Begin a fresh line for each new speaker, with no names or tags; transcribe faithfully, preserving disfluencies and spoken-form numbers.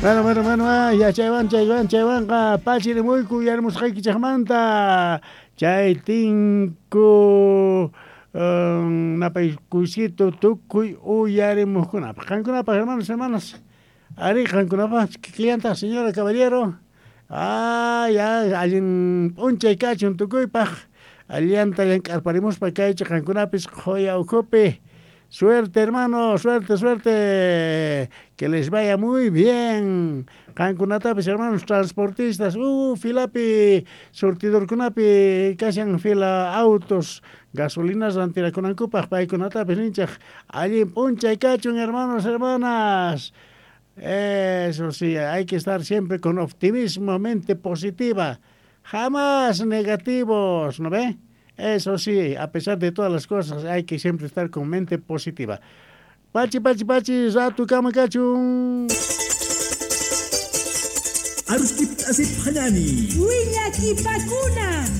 Bueno, bueno, bueno, ah, ya chaywan, chaywan, chaywanqa pachirimuyku uyarimusqaykichikmanta chay tinku um, napaykuysito tukuy uyarimuqkunapaq. Qankunapaq, hermanos, hermanas. Ari, qankunapaq kikillantaq, señora, caballero. Ah, ya, allin p'unchay kachun tukuypaq. Allanta llank'arparimuspa kaychik qankunapis qhuya ukhupi. Suerte, hermano, suerte, suerte. Que les vaya muy bien. Qankunatapis, hermanos transportistas, uh, filapi, surtidorkunapi, kashan fila autos, gasolinas rantirakunankupaq, paykunatapis ninchik allin p'unchay kachun, hermanos, hermanas. Eso sí, hay que estar siempre con optimismo, mente positiva. Jamás negativos, ¿no ve? Eso sí, a pesar de todas las cosas, hay que siempre estar con mente positiva. Pachi, pachi, pachi, ratu kama kachun.
Aruskip asip hanani.
Willakipakuna.